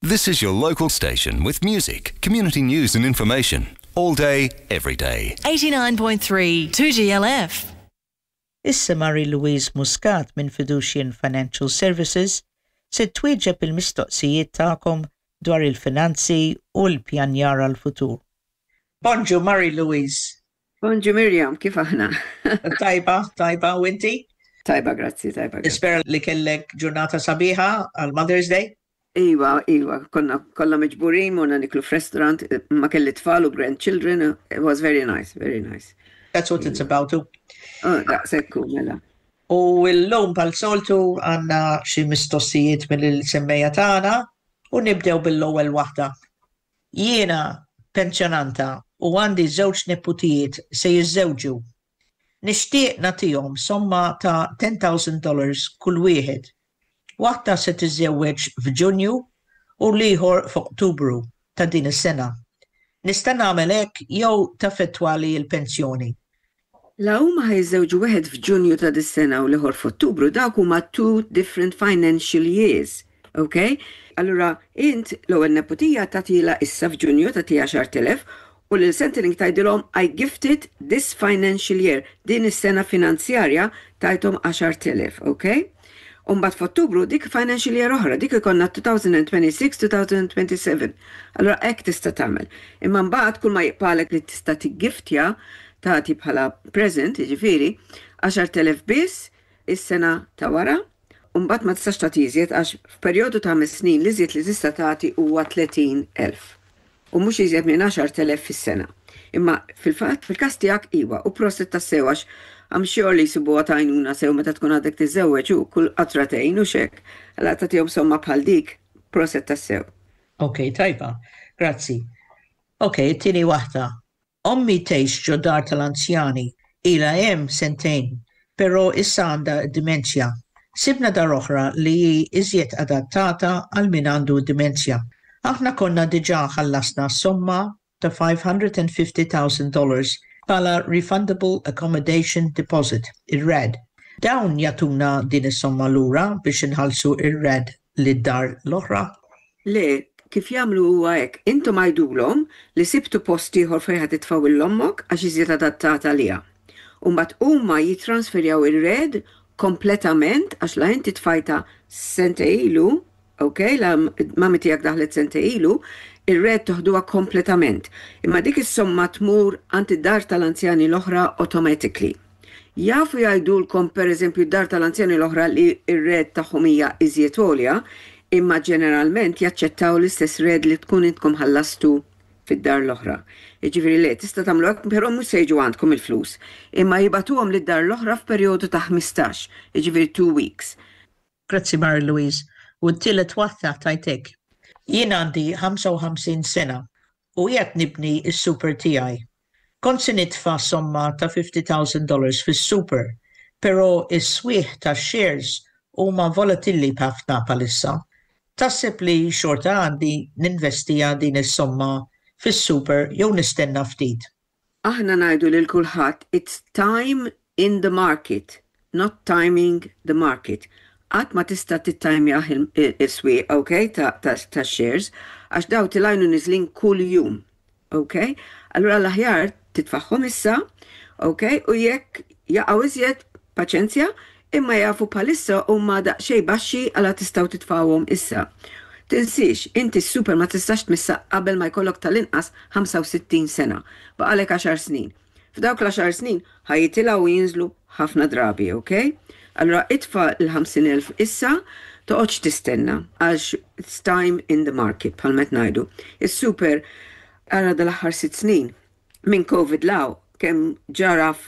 This is your local station with music, community news and information. All day, every day. 89.3 2GLF. Issa Marie Louise Muscat minn Fiducian Financial Services se twieġeb il-mistoqsijiet tagħkom dwar il-finanzi u l-pjanjar għal-futur. Bonġu, Marie Louise. Bonġu, Miriam, kif aħna? Tajba, tajba, u inti? Tajba, grazzi, tajba. Grazzi. Nispera li kellek ġurnata sabiħa għal Mother's Day. Iva, konna kollha miġburin, morna niklu f'restaurant, ma kelli tfal u grandchildren, it was very nice, very nice. That's what it's about too. Oh, daqshekk mela. U l-lum bħas-soltu għandna xi mistoqsijiet mill-semmiegħa tagħna u nibdew bil-ewwel waħda. Jiena pensjonanta u għandi żewġ neputijiet se jiżżewġu. Nixtieq nagħtihom somma ta' $10,000 kull wieħed. Waħda se tiżżewweġ f'Ġunju u l-ieħor f'Ottubru ta' din is-sena. Nista' nagħmel hekk jew taffettwali l-pensjoni? La huma ħa jiżżewġu wieħed f'Ġunju ta' dis-sena u l-ieħor f'Ottubru, dawk huma two different financial years. Ok? Allura, int l-ewwel neputija tagħtiha issa f'Ġunju, tagħtiha 10,000 u lil Centrelink tgħidilhom "I gifted this financial year", din is-sena finanzjarja tajthom 10,000, ok? Umbagħad f'Ottubru dik financial year oħra, dik ikollna 2026-2027. Allura hekk tista' tagħmel. Imma mbagħad kull ma jibqagħlek li tista' tiggiftja, tagħti bħala present, jiġifieri 10,000 biss is-sena ta' wara, u mbagħad ma tistax tagħti iżjed għax f'perjodu ta' 5 snin li iżjed li tista' tagħti huwa 30,000 u mhux iżjed minn 10,000 fis-sena. Imma fil-fatt, fil-każ tiegħek iva, u prosit tassew għax I'm sure li jsibuha t'għajnuna sew meta tkun għadek tiżżewweġ u kull qatra tgħin u hekk. Allura tagħtihom somma bħal dik, prosit tassew. Ok, tajba, grazzi. Ok, tieni waħda. Ommi tgħix ġo dar tal-anzjani, ila hemm sentejn, però issa għandha dimenzja. Sibna dar oħra li hi iżjed adattata għal min għandu dimenzja. Aħna konna diġà ħallasna somma ta' $550,000 bħala Refundable Accommodation Deposit, ir-RAD. Dawn jagħtuna din is-somma lura biex inħallsu ir-RAD lid-dar l-oħra? Le, kif jagħmlu huwa hekk, intom għidulhom li sibtu post ieħor fejn ħa titfgħu 'l ommok għax iżjed adattata għaliha. U mbagħad huma jitransferjaw ir-RAD kompletament għax la inti tfajta sentejn ilu, ok, la mami tiegħek daħlet sentejn ilu, ir-RAD toħduha kompletament. Imma dik is-somma tmur għand id-dar tal-anzjani l-oħra automatically. Jafu jgħidulkom, per eżempju, dar tal-anzjani l-oħra li ir-RAD tagħhom hija iżjed għolja, imma ġeneralment jaċċettaw l-istess RAD li tkun intkom ħallastu fid-dar l-oħra. Jiġifieri le, tista' tagħmlu hekk, però mhux se jiġu għandkom il-flus. Imma jibagħtuhom lid-dar l-oħra f'perjodu ta' 15, jiġifieri 2 weeks. Grazzi, Mary Louise. U t-tielet waħda tajtek. Jien għandi 55 sena u qiegħed nibni is-super tiegħi. Kont se nitfa' somma ta' $50,000 fis-super, però is-swieq ta' shares huma volatili ħafna bħalissa. Taħseb li xorta għandi ninvestiha din is-somma fis-super jew nistenna ftit? Aħna ngħidu lil kulħadd, it's time in the market, not timing the market. Qatt ma tista' tittajmjah il-swieq, ok, ta' shares, għax daw telgħin u neżlin kull jum, ok? Allura l-aħjar titfagħhom issa, ok, u jekk jaqgħu iżjed, paċenzja, imma jafu bħalissa huma daqsxejn baxxi għala tistgħu titfgħuhom issa. Tinsiex, inti s-super ma tistax tmissa qabel ma jkollok tal-inqas 65 sena. Baqagħlek 10 snin. F'dawk l-10 snin ħa jitilgħu u jinżlu ħafna drabi, ok? Allura itfa' l-50,000 issa, toqgħodx tistenna għax it's time in the market bħalma ngħidu. Is-super ara dal-aħħar 6 snin minn COVID 'l hawn kemm ġara.